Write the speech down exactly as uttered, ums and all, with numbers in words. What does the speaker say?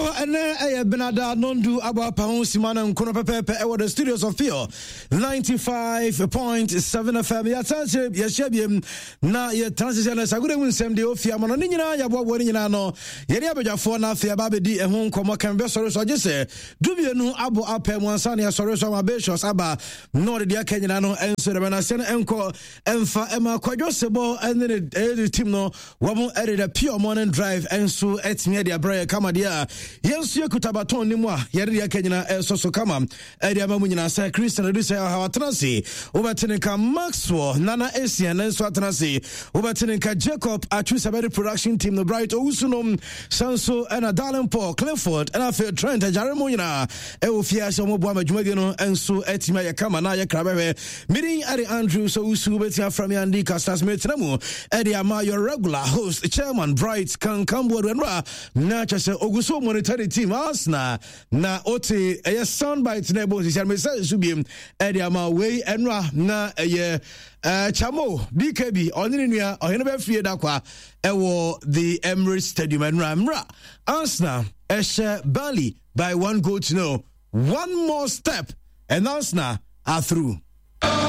Abusuafoɔ, ɛnɛ ɛyɛ Benada nondu abɔ apa ho sima no nkono pɛpɛɛpɛ ɛwɔ the studios of Pure ninety-five point seven F M. Yɛatena yɛhyia biem na yɛtena sesɛ no sagode mu nsɛm deɛ ɔfie ama no ne nyinaa yɛaboaboa no nyinaa no yɛne abadwafoɔ no afei aba abɛdi ɛho nkɔmmɔ. Kan bɛsɔre so agye sɛ dumienu abɔ apɛ mu ansa ne yɛsɔre so ama Batius aba na ɔde deɛ aka nyinaa no ɛnso dɛmɛ no aseɛ no ɛnkɔ ɛmfa ɛma Kwadwo Sebɔ ɛne ne ɛyɛ team no wɔn ɛde the Pure Morning Drive ɛnso ɛtumi ɛde abrɛ yɛ kama deɛ a yɛn nso yɛkuta baton ne mu a yɛde deɛ aka nyinaa ɛsɔ so kama ɛde ama mu nyinaa sɛ Christian adu sɛ ɔhaw atena ase, wobɛte ne nka Maxwell Nana Asian ne nso atena ase, wobɛte ne nka Jacob Atwu Sabɛde production team no, Bright Owusu nom san so ɛna Darling Paul Clifford ɛna afei Trent agyare mu nyinaa ɛwɔ fie ase ɔmo boa ma dwumadie no nso atumi ayɛ kama na ayɛ kra bɛhwɛ. Meeting ɛde Andrew so wusu, wobɛtumi afra me Andy Castas. Metena mu ɛde ama your regular host, Chairman Bright Kankamboadu. Ɛno a na kyɛ sɛ ogu so monitor the team Arsenal na ote ɛyɛ soundbite na ɛbɔ nsisi mesɛ nso biem ɛde ama wei. Ɛno a na ɛyɛ ɛɛ Chamo D K B ɔne ne nua ɔhene bɛfie da kwa ɛwɔ the Emirates Stadium. Ɛno a mmra Arsenal ɛhyɛ Burnley by one goal to no. One more step and Arsenal are through.